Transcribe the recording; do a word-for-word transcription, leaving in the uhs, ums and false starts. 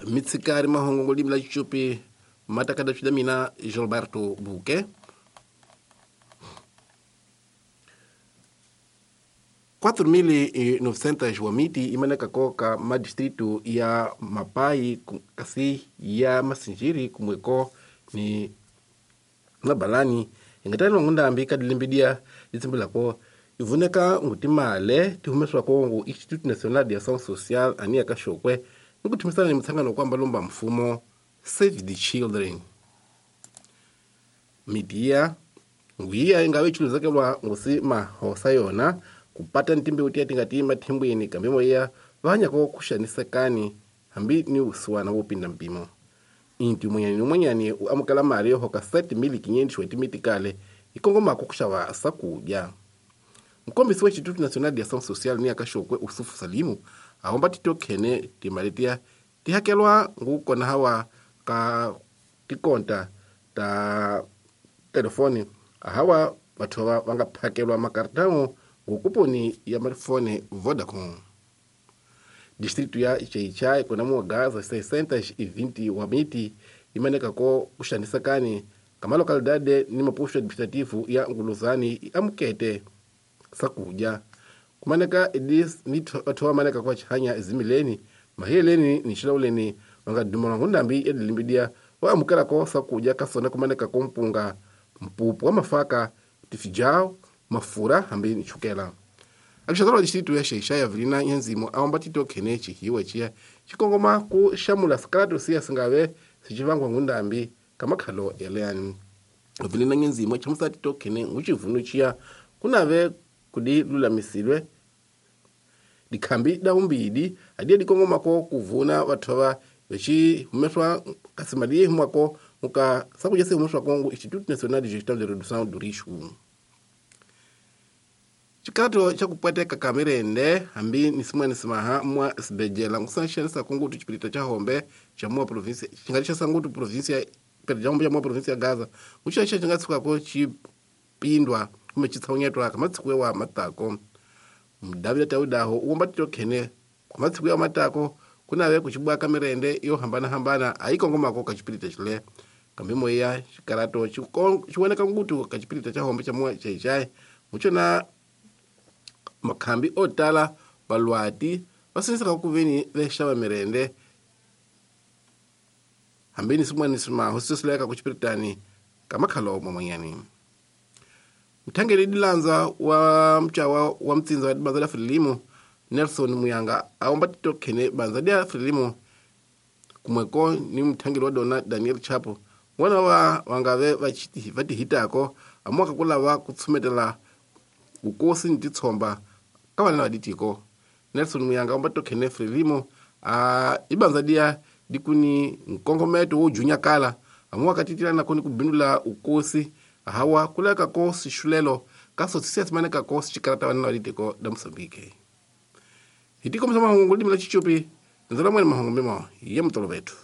Mitsikari mahongo limi la Chichupi matakada chida mina Gilberto Buque. quatro mil e novecentos wamiti imaneka koka ma distrito ya Mapai kasi ya Masinjiri kumweko ni mabalani ingatano ngundambi kadilimbidia litsimbilako ivuneka ngutimale tihumeswa kongo Instituto Nacional de Ação Social ania kashokwe nikuthimisana ni mtsangano kwamba lomba mfumo Save the Children midia nguiya ingawe chiluzakelwa ngusi mahosa yona kupata ntimbi utia tingati mathimbwini kambimo iya vahanyako kuxanisekani hambi ni usuwana wo pinda mpimo inti mwenyani mwenyani uamukela mali yo hoka sete mil quinhentos e oito mitikale ikongomako kuxava sakudya. Mkombisi wa Instituto Nacional de Ação Social ni akashokwe Usufu Salimu aomba titokhene timali tiya tihakelwa ngukona hawa ka tikonta ta telefone ahawa vathu va nga phakelwa makartão ngukuponi ya mafone Vodacom. Distrito ya Xai-Xai kona mua Gaza seiscentos e vinte wamiti imaneka ko kuxanisekani kama localidade ni maposto administrativo ya Nguluzani amukete sakudya kumaneka edis ni athowa maneka kwa chihanya ezimileni mahiyeleni ni xilauleni vanga dumela ngundambi ya dilimbidia wa amukela ko sakudya kasona kumaneka ko mpunga mpupu wa mafaka tifijao mafura hambi ni chukela. Alexandre distrito ya Xai-Xai Avelina Nyanzimo aomba titokhene chihiwa chiya chikongoma ku xamula sikaratu siya singave sichivangwa ngundambi kamakhalo yaleani. Avelina Nyanzimo chamusa titokhene nguchivunu chiya kunave kudi lulamisilwe dikhambi da umbidi adiye dikongomako kuvuna vathu vechi humeswa kasimali humwako muka sakudya se humeswa kongo Instituto Nacional de Gestão de Redução do Risco. Chikato cha kupweteka kamirende hambi ni simwene simaha mwa sibejela ngusanxanisa kungutu chipirita cha hombe cha mwa província chingalisha sangutu província perdão cha mwa província ya Gaza uchacha chingatsukako chipindwa kumbe chitsaunyetwa kamatsiku wa matako Mdavida taudaho uomba titokhene kamatsiku ya matako kunave kuchibwa kamirende yo hambana hambana aikongomako kachipirita chile kambimo ya chikarato chiwoneka ngutu kachipirita cha hombe cha mwa Xai-Xai muchona makhambi otala balwati vasinisa kuveni vexava mirende hambini simwani simaho sisileka kuchipiritani kamakhalo mamanyani. Mthangeli dilanza wa mchawa wa mtsinza wa dibanza la Frelimo Nelson Muyanga aomba titokhene banza dia Frelimo kumweko ni mthangeli wa dona Daniel Chapo wana wa wangave vachiti vatihitako amwaka kulava kutsumetela ukosi ni titsomba ka vana va ditiko. Nelson Muyanga omba tokhene Frelimo a ibanza dia dikuni nkongometo wo junyakala amuwa katitilana koni kubindula ukosi hawa kuleka ko sixulelo ka sosisi simaneka ko sichikarata vana va ditiko da Mozambique. Hitiko msama mahungu limi la Chichupi nzala mwene mahungu mimo ya mtolo vetu.